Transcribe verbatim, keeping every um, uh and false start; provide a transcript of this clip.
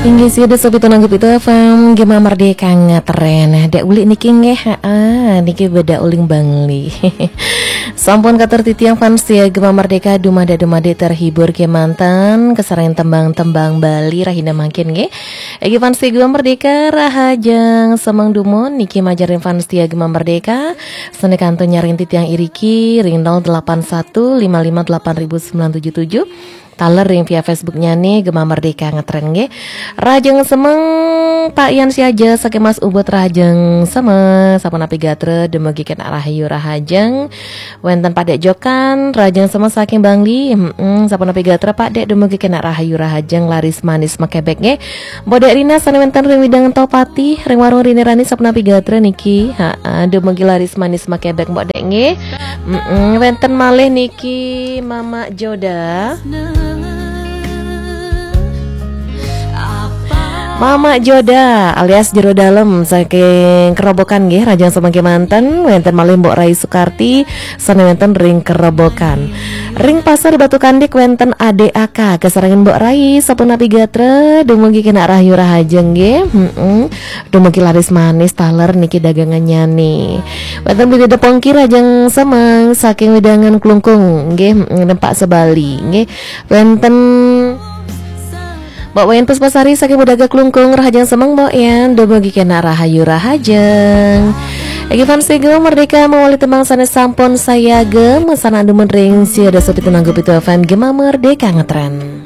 Inggih, sida sopi tunanggap itu F M Gema Merdeka ngetren. Dek ulik niki nggih, heeh, niki beda uling Bangli. Sampun katur titiang fans setia Gema Merdeka, dumade-dumade terhibur kemanten, kesarengan tembang-tembang Bali rahina mangkin nggih. Egi fans setia Gema Merdeka, rahajeng semeng dumun niki majarin fans setia Gema Merdeka, sane kantun nyaring titiang iriki ring nol delapan satu lima lima delapan ribu sembilan tujuh tujuh. Taler ring via Facebook nyane Gema Merdeka ngetren nggih. Rahajeng semeng Pak Yan Siaja saking Mas Ubud, rahajeng semeng, sapunapi gatra, dumugi kenak rahayu rahajeng. Wenten Pak Dek Jokan, rahajeng semeng saking Bangli. Mm-mm, sapunapi gatra Pak Dek, dumugi kenak rahayu rahajeng, laris manis makebek nggih. Mbok Dek Rina sane wenten ring wewidangan Tohpati, ring warung Rini Rani, sapunapi gatra niki. Ha, dumugi laris manis makebek Mbok Dek nggih. Mm-mm, wenten malih niki Mama Joda. Mama Joda alias Jero Dalem saking Kerobokan nggih, rahajeng semeng kemanten, wenten malih Mbok Rai Sukarti sane wenten ring Kerobokan. Ring Pasar Batu Kandik wenten Ade Aka, kesarengan Mbok Rai, sapunapi gatra, dumugi kenak rahayu rahajeng nggih. Mm-mm. Dumugi laris manis taler niki dagangannyane. Wenten Bli Dede Pongki, rahajeng semeng saking wewidangan Klungkung nggih, mm, nempak sebali nggih. Wenten Mbok Wayan Puspasari saking Budaga Klungkung, rahajeng semeng Mbok Yan, dumugi kenak rahayu rahajeng. Egi fans Gema Merdeka mawali tembang sane sampun sayaga, masanak dumun ring sida sopi tunanggap itu F M Gema Merdeka ngetren.